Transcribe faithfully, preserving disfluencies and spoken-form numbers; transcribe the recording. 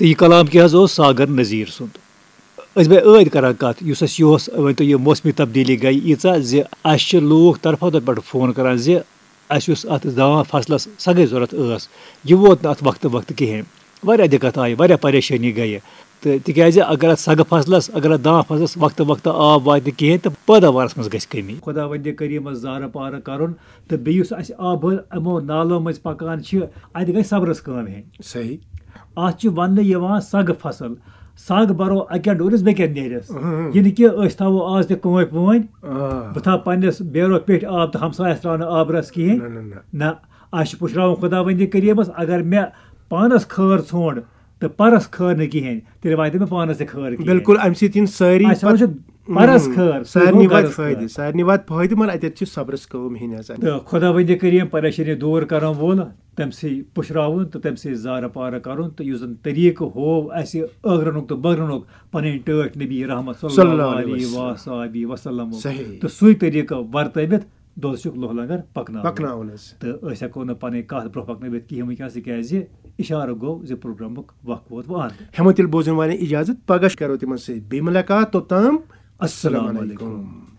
تہٕ یہِ کلام کیٛاہ حظ اوس؟ ساگر نذیر سُنٛد۔ أسۍ بے عٲدۍ کران کتھ، یُس اَسہِ یہِ اوس، ؤنۍ تو، یہِ موسمی تبدیلی گٔے ییٖژاہ زِ اَسہِ چھِ لوٗکھ طرفو طرفہٕ پٮ۪ٹھ فون کران زِ اَسہِ یُس اَتھ داں فصلس سگٕے ضروٗرت ٲس، یہِ ووت نہٕ اَتھ وقتہٕ وقتہٕ کِہیٖنۍ۔ واریاہ دِقت آیہِ، واریاہ پریشٲنی گٔیہِ۔ تہٕ تِکیٛازِ اگر اَتھ سگہٕ فصلس، اگر اَتھ داں فصلس وقتہٕ وقتہٕ آب واتہِ نہٕ کِہیٖنۍ، تہٕ پٲداوارس منٛز گژھِ کٔمی۔ خۄداوندِ کریٖمس زارٕ پارٕ کرُن، تہٕ بیٚیہِ یُس اَسہِ آبہٕ یِمو نالو مٔنٛزۍ پکان چھِ، اَتہِ گژھِ صبرس کٲم ہیٚنۍ۔ صحیح۔ اَتھ چھُ وننہٕ یِوان سگ فصل۔ سگ برو اکہِ ڈورِس بیٚکہِ نیرِس۔ اہم۔ یہِ نہٕ کہِ أسۍ تھاوو آز تہِ کٲنٛپۍ وٲنۍ۔ آ۔ بہٕ تھاوٕ پننِس بیرو پیٚٹھۍ آب تہٕ ہمسایس ترٛاونہٕ آبہٕ رس کِہیٖنۍ۔ نہ، نہ، نہ۔ نہ، اَسہِ چھُ پُشراوُن خۄداوندِ کریٖمس، اگر مےٚ پانس خٲر ژھونٛڈ تہٕ پرس خٲر نہٕ کِہیٖنۍ، تیٚلہِ واتہِ مےٚ پانس تہِ خٲر کِہیٖنۍ۔ بِلکُل، اَمہِ سۭتۍ یِن سٲری اَسہِ پتہٕ چھُ پرس اہم۔ خٲر، سُہ سارنٕے گوٚو واتہِ غرض فٲیدٕ، خٲر۔ سارنٕے واتہِ فٲیدٕ، مگر اَتٮ۪تھ چھِ صبرس کٲم ہیٚنۍ حظ۔ تہٕ خۄداوندِ کریٖم پریشٲنی دوٗر کرن وول، تٔمۍ سٕے پُشراوُن تہٕ تٔمۍ سٕے زارٕ پارٕ کرُن، تہٕ یُس زن طریٖقہٕ ہوو اَسہِ ٲخرنُک تہٕ بٲخرنُک پنٕنۍ ٹٲٹھۍ نبی رحمت صلی صلی اللہ اللہ علیہ علیہ وسلم۔ وصحبہ وسلم۔ صحیح۔ تہٕ سُے طریٖقہٕ ورتٲوِتھ دوزخُک لوہ لنگر پکناوُن۔ پکناوُن حظ۔ تہٕ أسۍ ہٮ۪کو نہٕ پنٕنۍ کتھ برٛونٛہہ پکنٲوِتھ کِہیٖنۍ وٕنکیٚنس، تِکیٛازِ اشارٕ گوٚو زِ پروگرامُک وقت ووت وۄنۍ اندٕ۔ ہٮ۪مو تیٚلہِ بوزن والٮ۪ن اجازت، پگاہ کرو تِمن سۭتۍ بیٚیہِ مُلاقات، توٚتام السلام السلام علیکم۔ علیکم۔